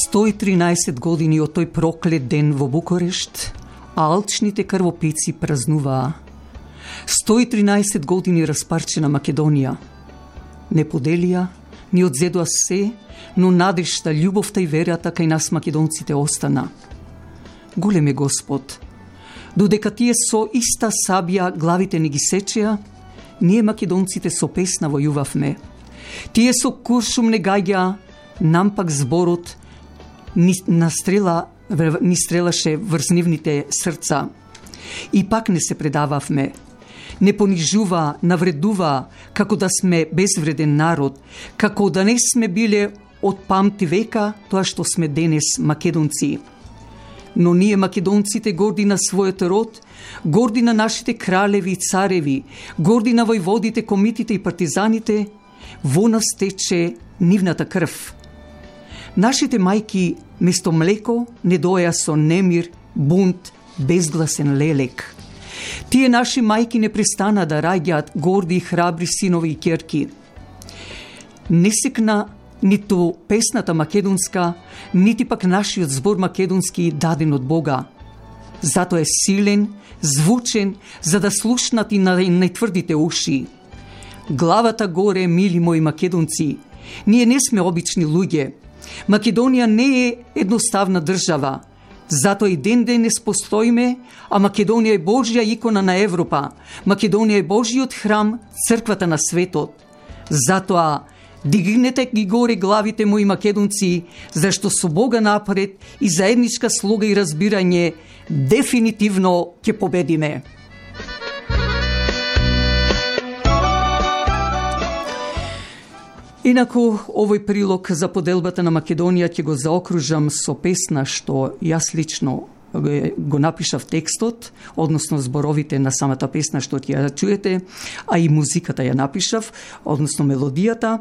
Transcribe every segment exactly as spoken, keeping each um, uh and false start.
сто и тринаесет години од тој проклет ден во Букурешт, а алчните крвопици празнуваа. сто и тринаесет години распарчена Македонија. Не поделија, ни одзедоа се, но надежта, љубовта и верата кај нас македонците остана. Голем е Господ. Додека тие со иста сабја главите не ги сечеа, ние македонците со песна војувавме. Тие со куршум не гаѓа, нам пак зборот ни настрела, ни стрелаше врз нивните срца. И пак не се предававме. Не понижува, навредува, како да сме безвреден народ, како да не сме биле од памти века тоа што сме денес македонци. Но ние македонците горди на својот род, горди на нашите кралеви и цареви, горди на војводите, комитите и партизаните, во нас тече нивната крв. Нашите мајки место млеко не доја со немир, бунт, безгласен лелек. Тие наши мајки не престана да раѓаат горди и храбри синови и ќерки. Не секна ниту песната македонска, нити пак нашиот збор македонски даден од Бога. Затоа е силен, звучен, за да слушнат и на најтврдите уши. Главата горе, мили мои македонци, ние не сме обични луѓе. Македонија не е едноставна држава. Затоа и ден денес постоиме, а Македонија е Божја икона на Европа. Македонија е Божјиот храм, црквата на светот. Затоа дигнете ги горе главите мои македонци, зашто со Бога напред и заедничка слога и разбирање дефинитивно ќе победиме. Инаку, овој прилог за поделбата на Македонија ќе го заокружам со песна што јас лично го напишав текстот, односно зборовите на самата песна што ќе ја чуете, а и музиката ја напишав, односно мелодијата,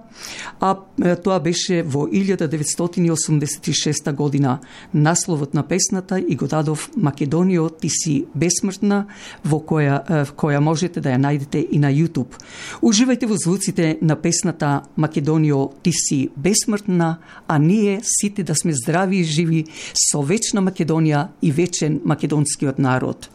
а тоа беше во илјада деветстотини осумдесет и шеста година. Насловот на песната и го дадов Македонио, ти си бесмртна, во која, која можете да ја најдете и на YouTube. Уживајте во звуците на песната Македонио, ти си бесмртна, а ние сите да сме здрави и живи со вечна Македонија и вечен македонскиот народ.